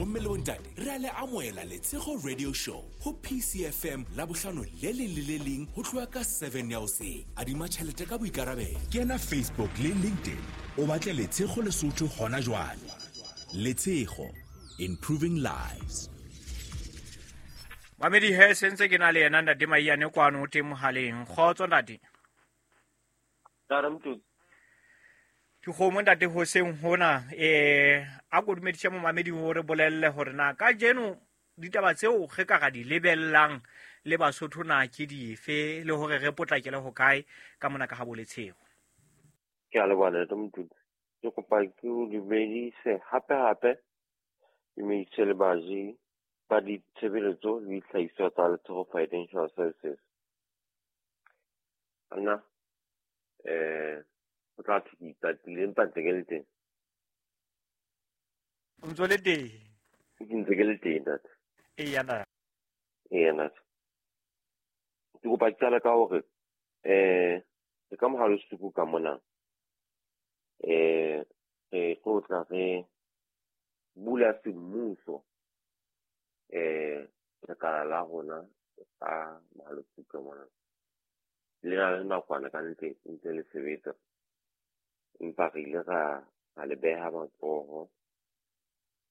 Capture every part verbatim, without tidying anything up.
Bomme le bontate, re a le amohela Letshego Radio Show ho P C F M la bohlano le leng le le leng ho tloha ka seven ya hoseng. Adima tjhelete ka boikarabelo. Kena Facebook le LinkedIn o batle Letshego Lesotho hona jwale. Letshego, improving lives. Mamedi he sentse ke na le yena ntate Maiyane kwano o teng mohaleng. Kgotso ntate. Ntate. Ke kgomo ntate hoseng hona eh a ko dumedise momamedi o re bolelle hore na kajeno ditaba tseo re ka ra di lebellang le Basotho na ke dife le hore re potlakele ho kae ka mona ka ha Boletshego. Ke a leboha ntate Motutsi. Ke kopa ke o dumedise hape hape dumedise le baji ba ditshebeletso le dihlahiswa tsa Letshego Financial Services. Nna eh o tla thwe ke itatile empa ntse ke le teng. O ntso le teng? Ke ntse ke le teng ntate. Eya ntate. Eya ntate. Ke kopa ke qala ka hore eh re ka mohalo suku ka mona eh re tlo tla re bula semmuso eh lekala la rona ka mohalo suku ka mona. Le na le nakwana ka ntle ntse le sebetsa. Empa re ile ra ra le beha matsoho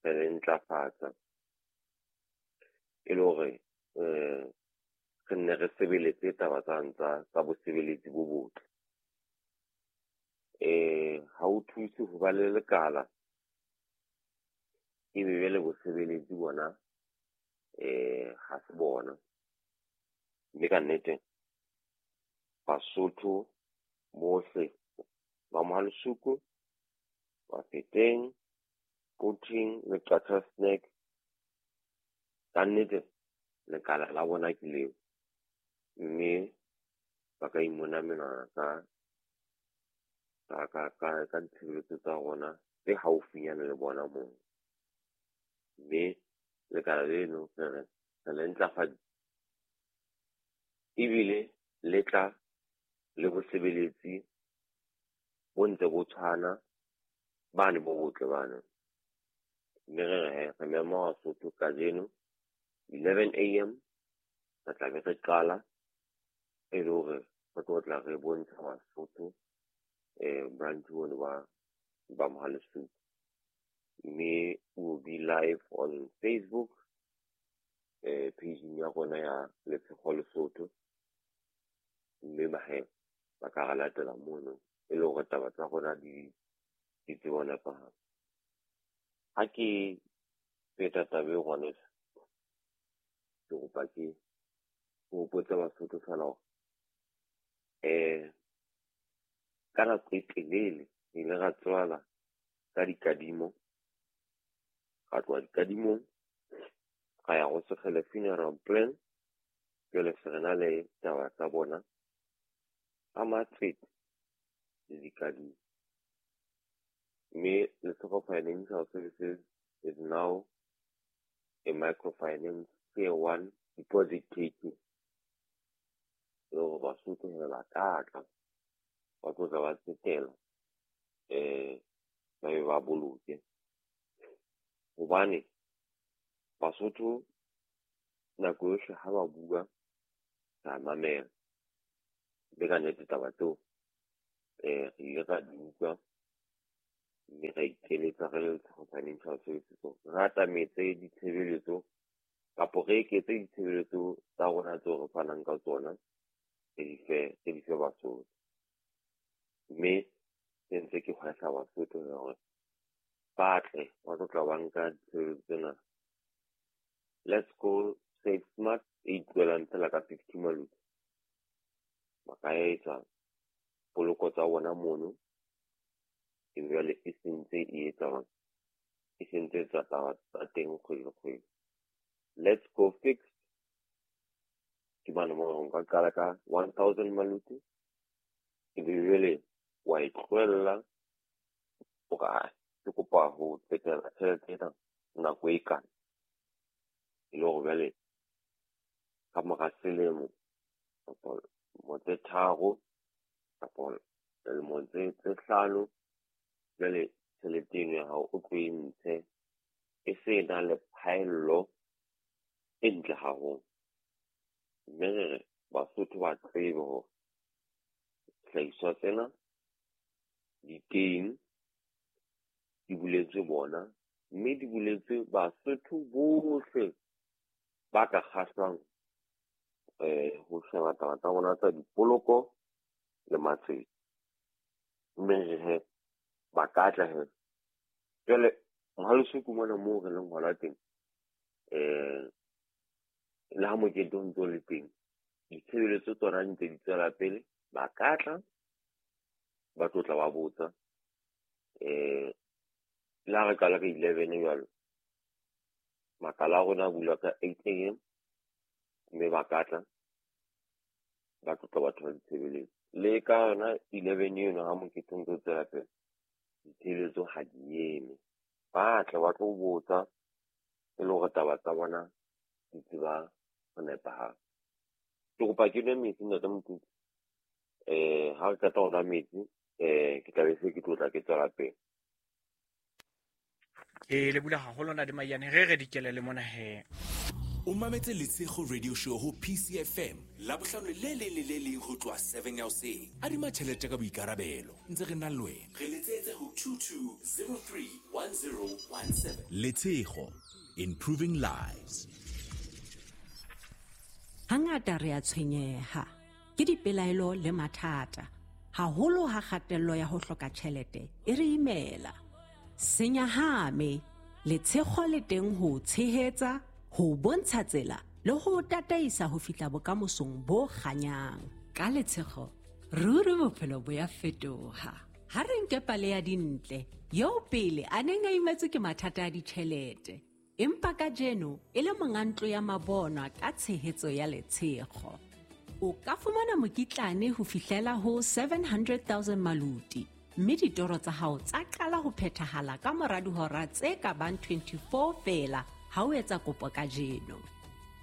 re le ntlafatsa e le hore eh re nne re sebeletse taba tsa tsa tsa bosebeletsi bo botle. Eh ha o thuse ho ba le lekala ebe jwale bosebeletsi bona eh ha se bona. Mme ka nnete Basotho bohle ba Mohalesuku, Bafeteng, Quthing le Qacha's Nek, ka nnete lekala la bona ke leo, mme ba ka imona menwana ka ka ka ka ka ditshebeletso tsa rona tse haufinyana le bona moo. Mme lekala leno re re re le ntlafaditse ebile le tla le bosebeletsi bo ntse bo tshwana bane bo botle bana. Mme re re he re mema Basotho kajeno eleven A M re tla be re qala e le hore re tlo tla re bontsha Basotho eh branch ono ba ba Mohalesuku. Mme we will be live on Facebook eh page ya rona ya Letshego Lesotho. Mme ba he ba ka re latela mono e le hore taba tsa rona di di tsebe ho nepahala. Ha ke feta taba eo ngwaneso, ke kopa ke hopotse Basotho feela hore eh ka nako e telele re ile ra tswala ka dikadimo, ra tloha dikadimong ra ya ho Sekgele funeral plan. Jwale se re na le taba tsa bona ka matsete le dikadimo. Mme Letshego Financial Services is now a microfinance tier one deposit taking. Le hore Basotho he ba ka tla ba tlo tla ba tsetela eh ba be ba boloke. Hobane Basotho nako yohle ha ba bua ra mamela. Mme ka nnete taba tseo eh re ile ra di utlwa mme ra ikeletsa re le Letshego Financial Services hore re atametse ditshebeletso kapo re eketse ditshebeletso tsa rona tseo re fanang ka tsona re di fe re di fe Basotho. Mme se ntse ke hwehla Basotho hore ba tle ba tlo tla ba nka ditshebeletso tsena. Let's go save smart e itloelang fela ka fifty maluti. Ba ka etsa poloko tsa bona mono e jwale e sentse e etsa e sentse etsa taba tsa teng kgwedi le kgwedi. Let's go fixed ke mane moo nka qala ka one thousand maluti ebe jwale wa e tlohella o re ke kopa ho tsetela tjhelete ena nako e kana e le hore jwale ka mora selemo kapa dilemo tse tharo kapa dilemo tse tse hlano jwale tjhelete eno ya hao o tlo e ntshe e se na le phaello e ntle haholo. Mme re re Basotho ba tsebe hore dihlahiswa tsena di teng, di buletswe bona, mme di buletswe Basotho bohle ba ka kgahlwang eh ho sheba taba tsa bona tsa dipoloko le matsete. Mme re he ba ka tla he. Jwale mohaleso ke mona moo re leng hona teng, eh le ha mokete o ntso le teng, ditshebeletso tsona di ntse di tswela pele. Ba ka tla ba tlo tla ba botsa, eh le ha re qala ka eleven jwalo, makala a rona a bulwa ka eight A M, mme ba ka tla ba tlo tla ba thola ditshebeletso. Le ka yona eleven eno ha mokete o ntso tswela pele, ditshebeletso ha di eme. Ba tla ba tlo botsa e le hore taba tsa bona di tseba ho nepahala. Ke kopa ke nwe metsi ntate Mokutu. Eh ha re qeta ho nwa metsi, eh ke tla be se ke tlo tla ke tswela pele. Ke le bula haholo ntate Maiyane, re re dikele le mona he. O mametse Letshego Radio Show ho P C F M Labohlano le leng le le leng ho tloha seven ya hoseng. Adima tjhelete ka boikarabelo, ntse re na le wena. Re letsetse ho two two zero three one zero one seven. Letshego, improving lives. Hangata re a tshwenyeha ke dipelaelo le mathata, haholo ha kgatello ya ho hloka tjhelete e re imela. Senyahame, Letshego le teng ho tshehetsa, ho bontsha tsela le ho tataisa ho fihla bokamosong bo kganyang. Ka Letshego, ruri bophelo bo ya fetoha. Ha re nke pale ya Dintle, eo pele a neng a imetswe ke mathata a ditjhelete, empa kajeno e le monga ntlo ya mabonwa ka tshehetso ya Letshego. O ka fumana mokitlane ho fihlela ho seven hundred thousand maluti, mme ditoro tsa hao tsa qala ho phethahala ka mora dihora tse ka bang twenty-four feela ha o etsa kopo kajeno.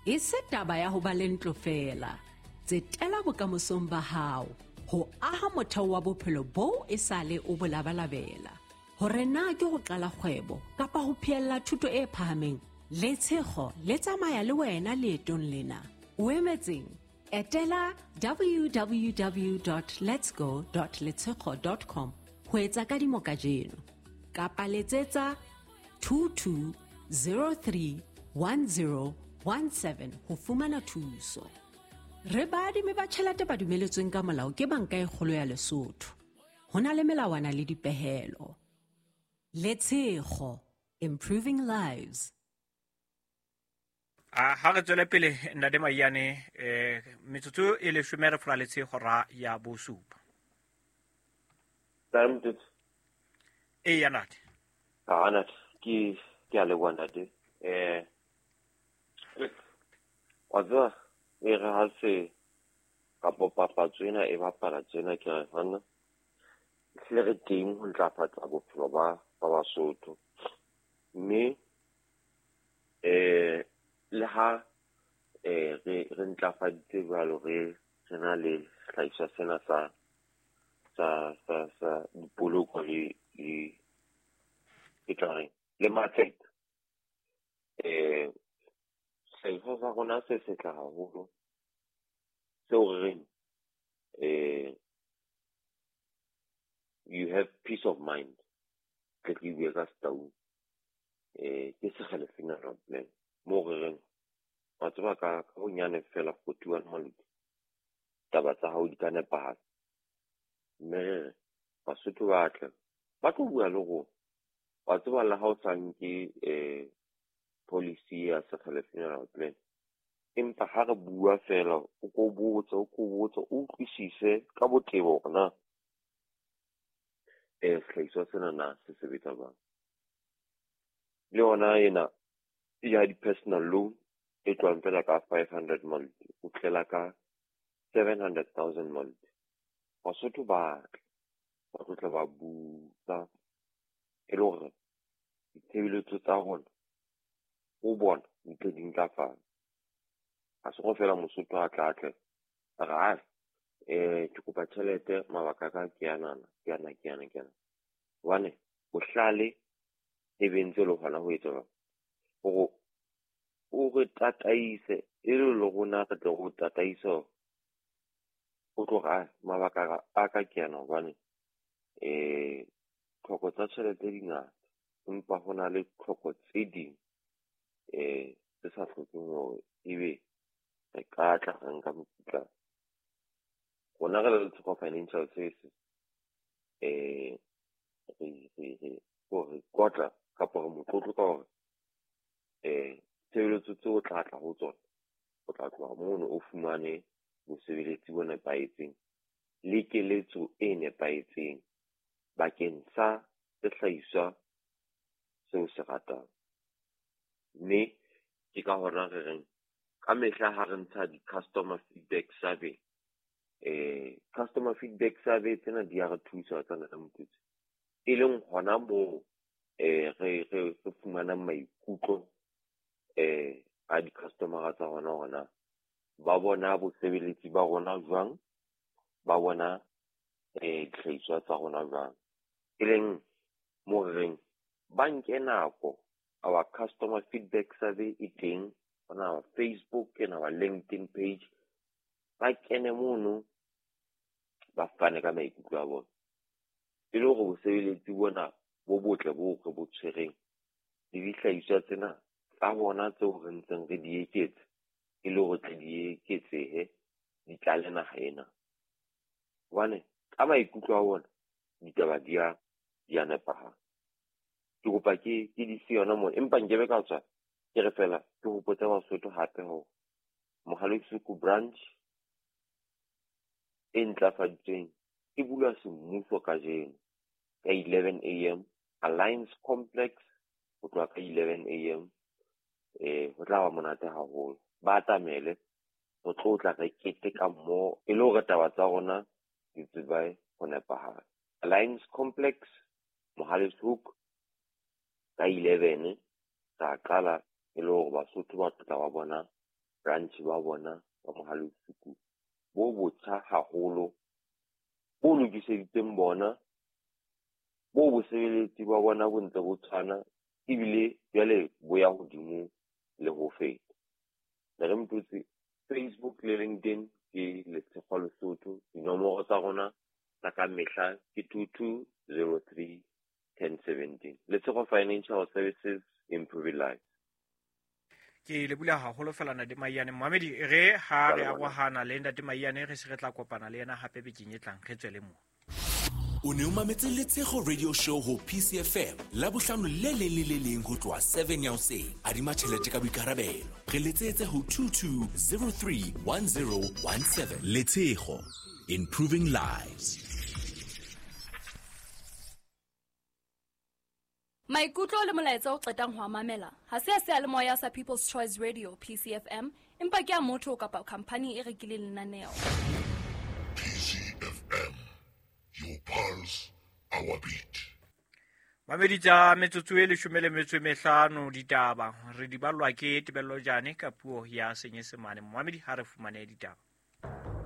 E se taba ya ho ba le ntlo feela, tsetela bokamosong ba hao ho aha motheo wa bophelo boo e sale o bo labalabela. Hore na ke ho qala kgwebo kapa ho phehella thuto e phahameng, Letshego le tsamaya le wena leetong lena. O emetseng? Etela w w w dot letsgo dot letshego dot com ho etsa kadimo kajeno, kapa letsetsa two two zero three one zero one seven ho fumana thuso. Re baadimi ba tjhelete ba dumeletsweng ka molao ke Banka e Kgolo ya Lesotho. Ho na le melawana le dipehelo. Letshego, improving lives. A ha re tswele pele ntate Maiyane, eh metsotso e leshome re folaletse hora ya bosupa. Ntate. E ya ntate. Ah ntate, ke ke a leboha ntate. Eh wa tseba e re ha se kapo papatso ena e bapala tjena, ke re hana ehlile re teng ho ntlafatsa bophelo ba ba Basotho. Mme eh le ha eh re re ntlafaditse jwalo, re re na le sehlahiswa sena sa sa sa sa dipoloko le le ke tla reng le matsete. Eh sehlahiswa sa rona se setle haholo, seo re reng eh you have peace of mind. Ke ke bue ka Setaung, eh ke Sekgele funeral plan moo re reng wa tseba ka ka bonyane fela forty-one maluti taba tsa hao di ka nepahala. Mme re re Basotho ba tle ba tlo bua le rona. Wa tseba le ha o sa nke eh policy ya Sekgele funeral plan, empa ha re bua fela o ko botse o ko botse o utlwisise ka botebo hore na eh sehlahiswa sena na se sebetsa jwang. Le yona ena ya di-personal loan e tlohang fela ka five hundred maluti o tlela ka seven hundred thousand maluti. Basotho ba tle ba tlo tla ba butsa e le hore ditshebeletso tsa rona ho bona di tle di ntlafale. Ha se go fela Mosotho a tla tle a re, "Ai, eh ke kopa tjhelete, mabaka a ka ke anana, ke ana, ke ana, ke ana." Hobane bohlale e be ntse le hona ho etsa jwang? Hore o re tataise e le le rona re tle re o tataise o tlo re mabaka a ka ke ana hobane eh tlhoko tsa tjhelete di ngata, empa ho na le tlhoko tse ding eh tse sa hlokeng hore ebe re ka tla re nka mokitlane. Rona re le Letshego Financial Services eh re re re re kotla kapa re motlotlo ka hore eh tshebeletso tseo o tla tla ho tsona, o tla tloha mono o fumane bosebeletsi bo nepahetseng le keletso e nepahetseng bakeng sa sehlahiswa seo se ratang. Mme ke ka hona re reng ka mehla ha re ntsha di-customer feedback survey, eh customer feedback survey tsena di a re thusa tsana ka motutsi, e leng hona moo eh re re re fumanang maikutlo eh a di-customer tsa rona hona ba bona bosebeletsi ba rona jwang, ba bona eh dihlahiswa tsa rona jwang. E leng mo re reng ba nke nako, our customer feedback survey e teng on our Facebook and our LinkedIn page, ba kene mono ba fane ka maikutlo a bona e le hore bosebeletsi bona bo botle bo re bo tshwereng le dihlahiswa tsena tsa bona tseo re ntseng re di eketsa e le hore tle di eketsehe di tlale naha ena. Hobane ka maikutlo a bona ditaba di a di a nepahala. Ke kopa ke ke di se yona mona, empa nkebe ka tswa ke re fela ke hopotse Basotho hape hore Mohale'Shoek branch e ntlafaditsweng e bulwa semmuso kajeno ka eleven A M Alliance Complex, ho tloha ka eleven A M eh ho tla ba monate haholo. Ba atamele re tlo tla re keteka mmoho e le hore taba tsa rona di tsebe ho nepahala. Alliance Complex Mohale'Shoek ka eleven ra qala e le hore Basotho ba tla ba bona branch ba bona ba Mohale'Shoek bo botjha haholo, bo lokiseditsweng bona, bo bosebeletsi ba bona bo ntse bo tshwana ebile jwale bo ya hodimo le ho feta. Le re mpotse Facebook le LinkedIn ke Letshego Lesotho, dinomoro tsa rona tsa ka mehla ke two two zero three ten seventeen. Letshego Financial Services, improving lives. Ke le bula haholo fela Ntate Maiyane. Mohamedi re ha re arohana le Ntate Maiyane re se re tla kopana le yena hape bekeng e tlang, re tswele mo. O ne o mametse Letshego Radio Show ho P C F M Labohlano le leng le le leng ho tloha seven ya hoseng. Adima tjhelete ka boikarabelo. Re letsetse ho two two zero three one zero one seven. Letshego, improving lives. Maikutlo le molaetsa o qetang ho mamela ha se a seyalemoya sa People's Choice Radio P C F M, empa ke a motho kapa company e rekileng lenaneo. P C F M, your pulse, our beat. Mamedi tsa metsotso e leshome le metso e mehlano ditaba re di ballwa ke Tebello Jane ka puo ya Senyesemane. Mamedi ha re fumane ditaba.